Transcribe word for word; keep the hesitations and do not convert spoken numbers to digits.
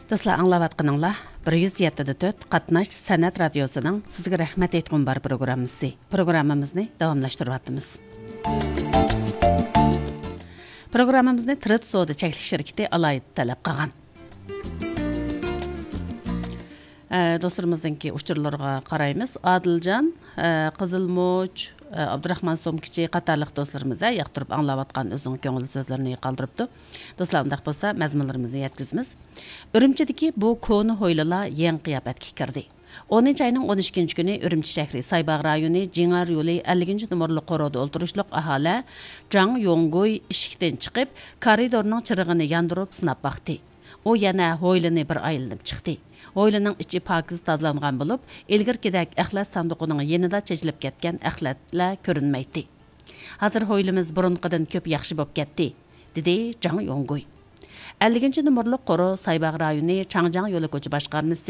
دوستلار، ئاڭلاۋاتقىنىڭلار بىر يۈز يەتتە دە تۆت قاتناش سەنئەت رادىيوسىنىڭ سىزگە رەھمەت ئېيتقۇم بار پروگراممىسى. پروگراممىمىزنى داۋاملاشتۇرۇۋاتىمىز. پروگراممىمىزنى تىرىت سودا چەكلىك شىركىتى ئالاھىدە تەلەپ قىلغان. ئە، دوستلىرىمىزنىڭكى ئۇچۇرلىرىغا قارايمىز. ئادىلجان، ئە، قىزىلمۇچ، ئە، ئابدۇراخمان سومكىچى قاتارلىق دوستلىرىمىز، ئە، ياقتۇرۇپ ئاڭلاۋاتقان ئۆزىنىڭ كۆڭۈل سۆزلىرىنى قالدۇرۇپتۇ. دوستلار، ئۇنداق بولسا مەزمۇنلىرىمىزنى يەتكۈزىمىز. ئۈرۈمچىدىكى بۇ كونا ھويلىلار يېڭى قىياپەتكە كىردى. ئونىنچى ئاينىڭ ئون ئىككىنچى كۈنى ئۈرۈمچى شەھىرى سايباغ رايونى جىڭئەر يولى ئەللىكىنچى نومۇرلۇق قورۇدا ئولتۇرۇشلۇق ئاھالە جاڭ يوڭگۇي ئىشىكتىن چىقىپ، كارىدورنىڭ چىرىغىنى ياندۇرۇپ سىناپ باقتى. ئۇ يەنە ھويلىنى بىر ئايلىنىپ چىقتى. ھويلىنىڭ ئىچى پاكىز تازىلانغان بولۇپ، ئىلگىرىكىدەك ئەخلەت ساندۇقىنىڭ يېنىدا چېچىلىپ كەتكەن ئەخلەتلەر كۆرۈنمەيتتى. ھازىر ھويلىمىز بۇرۇنقىدىن كۆپ ياخشى بولۇپ كەتتى، دېدى جاڭ يوڭگۇي. ئەللىكىنچى نومۇرلۇق قورۇ سايباغ رايونى چاڭجياڭ يولى كوچا باشقارمىسى